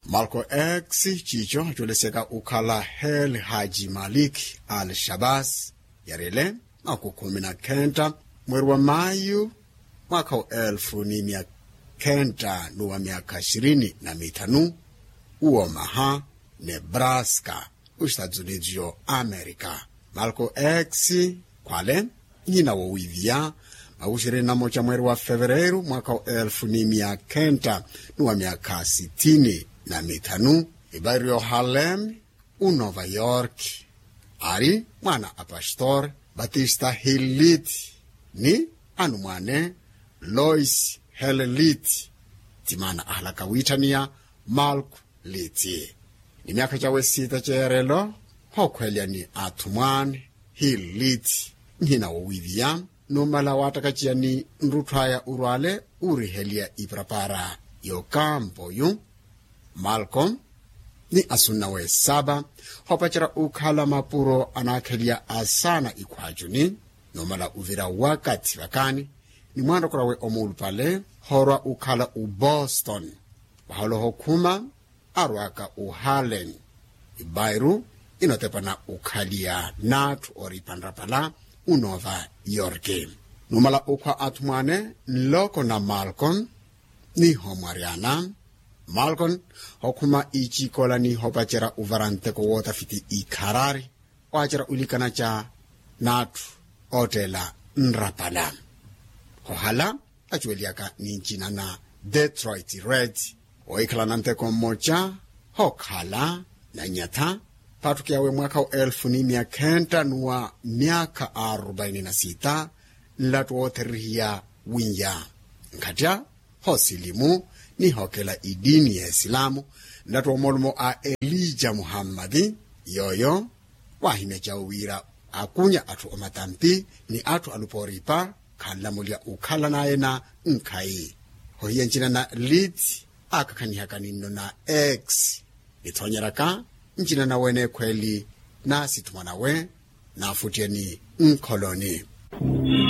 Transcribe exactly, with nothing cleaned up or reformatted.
Malko x ciico acuwelesyaka okhala hel haji malik al shabas yariyele makukhumi na khenta mweri wa mayu mwakha wa elfu ni mia khenta n'uwa miakha ishirini na mithanu uwo maha nebraska, ostatuniti yo amerika. Malko x khwale nhina wowiiviya makuxiri na moca mweri wa fevereiru mwakha wa elfu ni mia khenta n'uwa miakha sithini na mithanu. Ibairi yohalem unova york ari mwana a pastor batista hillit ni anumwane lois hellit. Timana ahalaka wiithaniya malk liti ni miakha cawe sita ceerelo hokhwelya ni athumwane hillit nhina wowiiviya numala waattakaciyani nrutthu aya urwale uuriheliya iparapara yokampoyu. Malko ni asunna w'esaba hoopacerya okhala mapuro anaakheliya asaana ikhwaacuni numala uvira wakathi vakani ni mwaanrokorya we omuulupale hoorwa okhala oboston. Vaholoho khuma arwaka oharlen ibairu inotepana okhaliya n'atthu ooripa nrapala unova yorki. Numala okhwa athumwane nloko na malkon ni homwaryana malkon hokhuma icikola ni hopacerya ovara nteko wootafiti ikharari waacerya olikana ca n'atthu ottela nrapala. Hohala acuweliyaka ni ncina na detroit red wohikhala na nteko mmoca hookhala na nyatha paattukiyawe mwaakha wa elfu ni mia khenta n'uwa miakha arubaini na sita. Nlattu wootherihiya wiiya nkhattya hoosilimu ni hookela itiini ya esilamu. Nlattu woomoolumo a elija muhammadi yooyo waahimya cawe wira akunya atthu omatampi ni atthu alupooripa khanlamulya okhala naye na nkhayi. Hohiya ncina na lit aakakhanihaka ninno na x nithoonyeraka ncina nawe neekhweeli na sithumwa nawe naafuttyeni nkholoni.